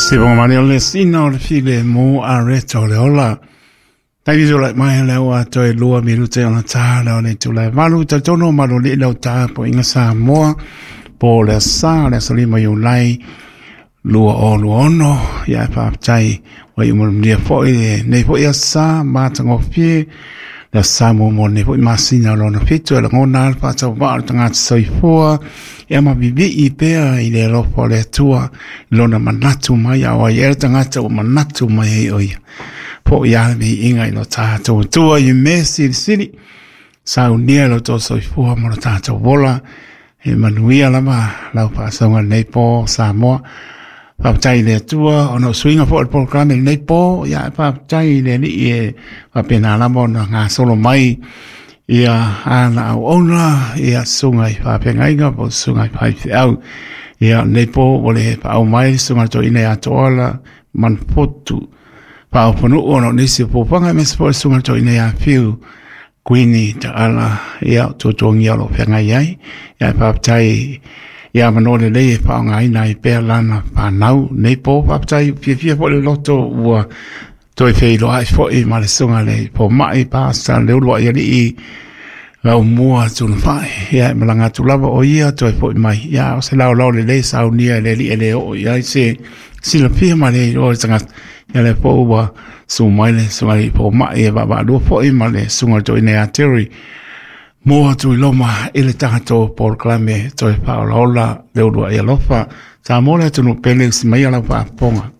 Se bonga mani o le sina o le file mo a reto le ola. Taimi tō lai mai le ua toe 2 minute ona tā le o le tūlai valu ta tono malo li lau tā po inga Samoa po le sa le salima Iulai 2026 ia e whaapatai wai umurumnia foi le nei foi a sa mātangofie le sa mo mo nei foi masina o lona fitu e langona le whaatau waa le tangata soifua e ama bibi i pea i le alofa o le Atua lona manatu mai a wai e le tangata o manatu mai e oia. Po ia le inga i lo tātou tua i me sili sili saunia lo tō soifua mo lo tātou wola e manuia lava lau whaasauga nei po Samoa. Whaapatai le Atua ona o suiga foi o le polokalame lenei po ia e whaapatai le alii e whapena lava ona gasolo mai ia ana auauna ia susuga i faafeagaiga po o susuga i faifeau. Ia lenei po ua le paau mai le susuga i le toeaina ia Toala Manufotu Faaoponuu ona o nisi o puapuaga aemaise foi le susuga i le toeaina ia Fiu Kuini Taala ia o tuatuagia o lo o feagai ai. Ia e faafetai ia avanoa lelei e faaaogaina ai pea lana fanau nei po. Faafetai fiafia foi le loto ua toe feiloai foi ma le susuga i le fomai Pastor Leuluai Alii Laumua Tunafai. Ia e malaga atu lava o ia toe foi mai. Ia o se laolao lelei saunia e le alii e le oo i ai se silafia ma le iloa o le tagata. Ia lea foi ua susu mai le susuga i le fomai e vaavaalua foi ma le susuga i le toeaina ia Terry mo atu i loma i le tatou polokalame toe faaolaola le uluai alofa. Samoa le atunuu pele, usi maia lau faafofoga.